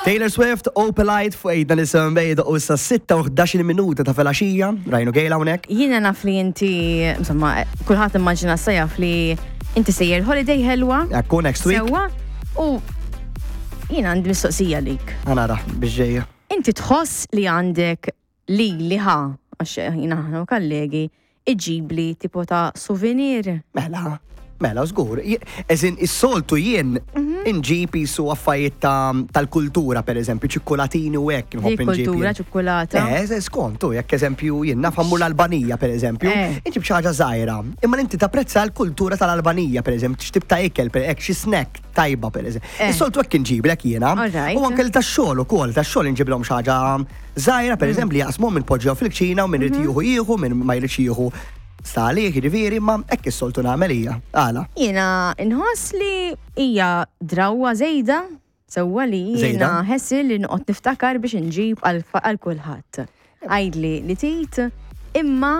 Taylor Swift, Opalite fuq ejda nisem bejda u issa 6 u 11 minuta ta' filgħaxija, Rajnu Gejla hawnhekk. Jiena naf li inti, insomma, kulħadd immaġina sa jaf li inti sejjer holiday ħelwa. Ekku next week. Sewwa. U jiena għandi mistoqsija lik. Għanara biex ġejja. Inti tħoss li għandek li li ħa, għax jiena aħna kollegi, iġibli tipo ta' souvenir. Mela, mela, żgur. Eżin, is-soltu jien mhm. inġib jisu affarijiet tal-kultura, per eżempju, ċikkulatini u hekk nħobb inġib. Kultura, ċikkulata. Eh, skontu, jekk eżempju jien naf l-Albanija, per eżempju, eh. inġib xi ħaġa żgħira. Imma inti tapprezza l-kultura tal-Albanija, per eżempju, x'tip ta' ikel, per hekk xi snack tajba, per eżempju. Eh. Is-soltu hekk inġiblek jiena. U anke tax-xogħol ukoll, tax-xogħol inġiblhom xi ħaġa Żgħira, per eżempju, li jaqsmu minn poġġew fil-kċina u minn irid mhm. jieħu jieħu, minn ma jridx jieħu sta għalih, jiġifieri, ma hekk is-soltu nagħmel hija. Għala. Jiena nħoss li hija drawwa żejda sewwa li jiena ħessi li noqgħod niftakar biex inġib għal kulħadd. Għidli li tit imma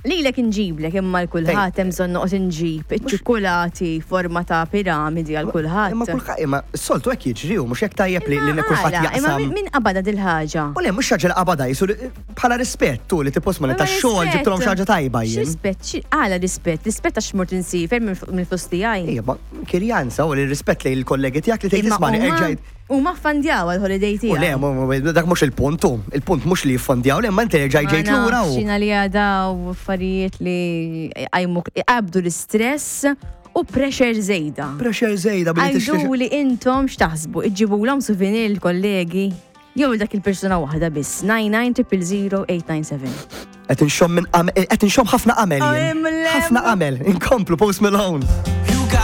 Lilek inġiblek imma l kulħadd hemm bżonn noqgħod inġib iċ-ċikkulati forma ta' piramidi għal kulħadd. Imma kulħadd imma s-soltu hekk jiġri u mhux hekk tajjeb li li kulħadd jaqsam. Imma min qabadha dil-ħaġa? U le mhux ħaġa li qabadha jisu bħala rispett tu li tipos ma tax-xogħol ġibtulhom xi ħaġa tajba jien. Rispett, għala rispett? Rispett għax mort insifer mill-flus tiegħi. Ejja, kirjanza u li rispett lejn il-kollegi tiegħek li tgħid isma' erġajt. Huma ffandjaw għall-holiday tiegħi. U le, dak mhux il-punt hu. Il-punt mhux li jiffandjaw, le, imma inti erġajt ġejt lura u. Xina li għadaw affarijiet li jqajmu jqabdu l-istress u pressure żejda. Pressure żejda billi tixtri. Għidu li intom x'taħsbu, iġġibulhom souvenir l-kollegi jew dak il-persuna waħda biss. 99 897. Qed inxomm minn qed inxomm ħafna qamel jien. Ħafna qamel. Inkomplu Post Malone.